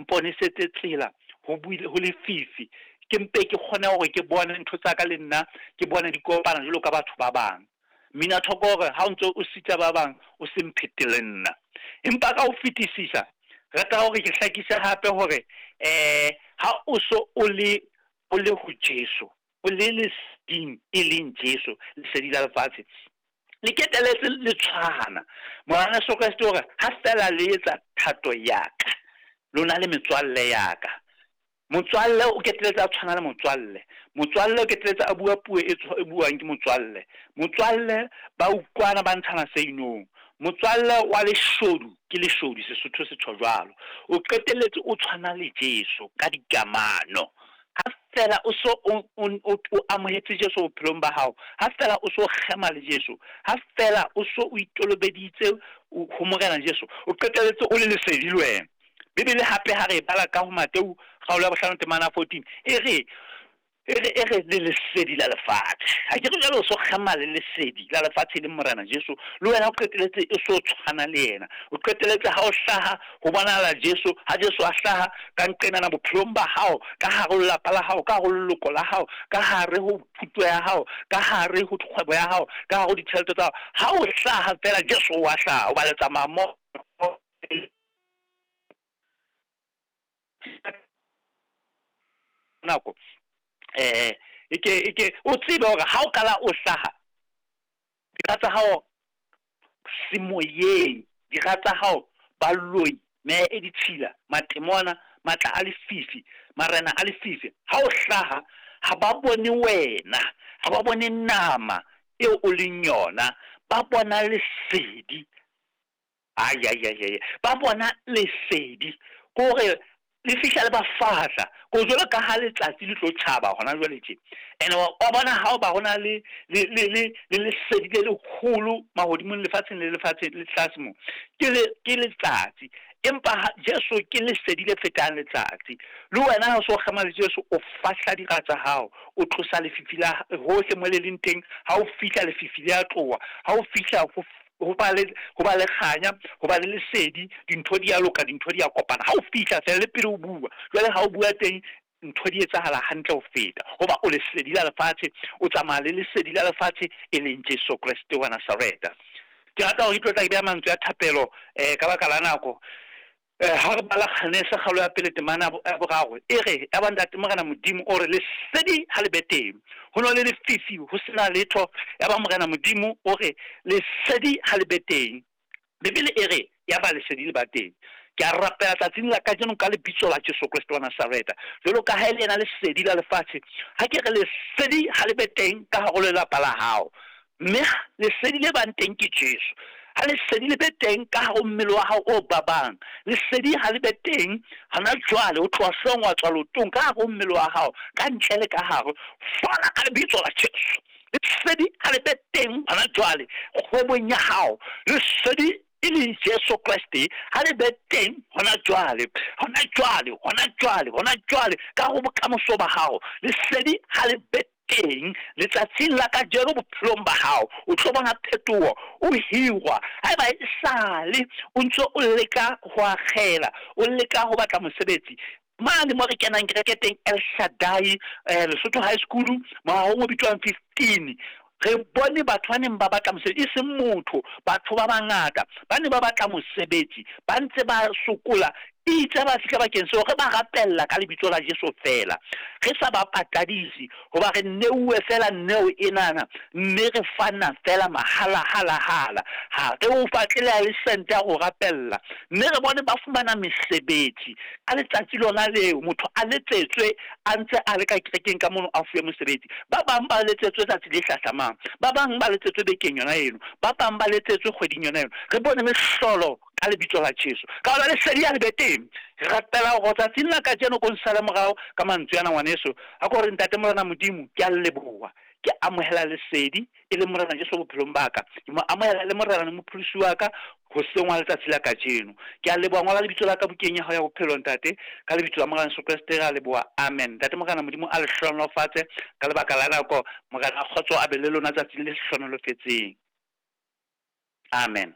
Mponesetse tsela ho buile ho lefifi, ke mpe ke kgone hore ke bone ntho tsa ka le nna ke bone di kopana jwalo ka batho ba bang. Mmina thoko hore ha o ntso o sita ba bang o se mphetele nna. Empa ka ho fetisisa rata hore ke hlakise hape hore ha o so o le o le ho Jesu, o le leseding e leng Jesu, lesedi la lefatshe. Le keteletse le tshwana. Morena Jesu Kreste hore ha fela le etsa thato ya ka, lona le metswalle ya ka. Motswalle o keteletse a tshwana le motswalle. Motswalle o keteletse a bua puo e e buang ke motswalle. Motswalle ba utlwana ba ntshana se inong. Motswalle wa leshodu ke leshodu, Sesotho se tjho jwalo. O qetelletse o tshwana le Jesu ka dikamano. Ha fela o so o amohetse Jesu bophelong ba hao, ha fela o so kgema le Jesu, ha fela o so o itolobeditse ho Morena Jesu, o qetelletse o le lesedi le wena. Bibele hape ha re e bala ka ho Mateu kgaolo ya bohlano temana 14 e re e re le lesedi la lefatshe. Ha ke re jwale o so kgema le lesedi la lefatshe e leng Morena Jesu, le wena o qetelletse e so tshwana le yena. O qetelletse ha o hlaha ho bonahala Jesu, ha Jesu a hlaha ka nqenana bophelong ba hao, ka hare ho lelapa la hao, ka hare ho leloko la hao, ka hare ho thuto ya hao, ka hare ho kgwebo ya hao, ka hare ho ditjhelete tsa hao. Ha o hlaha fela Jesu wa hlaha, hoba le tsamaya mmoho. Nako e ke o tsebe hore ha o kala o hlaha dira tsa hao semoyeng, dira tsa hao baloi, meya e ditshila, matemona, matla a lefifi, marena a lefifi, ha o hlaha ha ba bone wena, ha ba bone nama eo o leng yona, ba bona lesedi. Ai ai ai ai, ba bona lesedi ke hore le fihla le ba fahla ko jwalo ka ha letsatsi le tlo tjhaba hona jwale tje. Ene wa bona ha o ba hona le le le le le lesedi le leholo mahodimong, lefatsheng le lefatsheng le tlase mo, ke le ke letsatsi. Empa ha Jesu ke lesedi le fetang letsatsi. Le wena ha o so kgema le Jesu, o fahla dira tsa hao, o tlosa lefifi la hohle mo le leng teng. Ha o fihla lefifi le a tloha, ha o fihla ho ba le ho ba le kganya, ho ba le lesedi, dintho di a loka, dintho di a kopana. Ha o fihla fela le pele o bua, jwale ha o bua teng ntho di etsahala hantle ho feta, hoba o lesedi la lefatshe, o tsamaya le lesedi la lefatshe e leng Jesu Kreste wa Nazareta. Ke rata hore ke tlo tla ke beha mantswe a thapelo ka baka la nako. Ha re bala Genese kgaolo ya pele temana ya boraro e re ya ba ntate Morena Modimo o re lesedi ha le be teng, ho no le lefifi ho sena letho. Ya ba Morena Modimo o re lesedi ha le be teng. Bibele e re ya ba lesedi le ba teng. Ke a rapela tsatsing la kajeno ka lebitso la Jesu Kreste wa Nazareta, jwalo ka ha e le yena lesedi la lefatshe, ha ke re lesedi ha le be teng ka hare ho lelapa la hao, mme lesedi le bang teng ke Jesu. Ha lesedi le be teng ka hare ho mmele wa hao o babang, lesedi ha le be teng hona jwale, o tloha hloohong wa tswa leotong, ka hare ho mmele wa hao, ka ntle le ka hare, fola ka lebitso la Jesu. Lesedi ha le be teng hona jwale kgwebong ya hao, lesedi e leng Jesu Kreste ha le be teng hona jwale, hona jwale, hona jwale, hona jwale ka ho bokamoso ba hao. Lesedi ha le be teng letsatsing la kajeno bophelong ba hao, o tlo bona phetoho, o hirwa. Haeba e sale o ntse o leka ho akgela, o leka ho batla mosebetsi, mane mo re kenang kereke teng El Shaddai, Lesotho High School, moahong o bitswang 15, re bone batho ba neng ba batla mosebetsi, e seng motho, batho ba bangata ba ne ba batla mosebetsi, ba ntse ba sokola. Itse ba fihla bakeng seo, re ba rapella ka lebitso la Jesu fela, re sa ba patadise, hoba re neuwe fela neo enana, mme re fana fela mahala hala hala, ha re o batle le ha le sente ya go rapella. Mme re bone ba fumana mesebetsi ka letsatsi lona leo, motho a letsetswe a ntse a le ka kerekeng ka mono a fuwe mosebetsi. Ba bang ba letsetswe tsatsi le hlahlamang, ba bang ba letsetswe bekeng yona eno, ba bang ba letsetswe kgweding yona eno. Re bone mehlolo ka lebitso la Jesu. Ka hona lesedi ha le be teng. Re rapela hore tsatsing la kajeno ko nsale morao ka mantswe ana ngwaneso. Ha ko re ntate Morena Modimo, ke a leboha, ke amohela lesedi e leng Morena Jesu bophelong ba ka. Ke mo amohela le Morena le mopholosi wa ka hoseng wa letsatsi la kajeno. Ke a leboha, ngola lebitso la ka bukeng ya hao ya bophelo ntate, ka lebitso la Morena Jesu Kreste re a leboha, amen. Ntate Morena Modimo a le hlohonolofatse ka lebaka la nako. Morena a kgotso a be le lona tsatsing le hlohonolofetseng. Amen.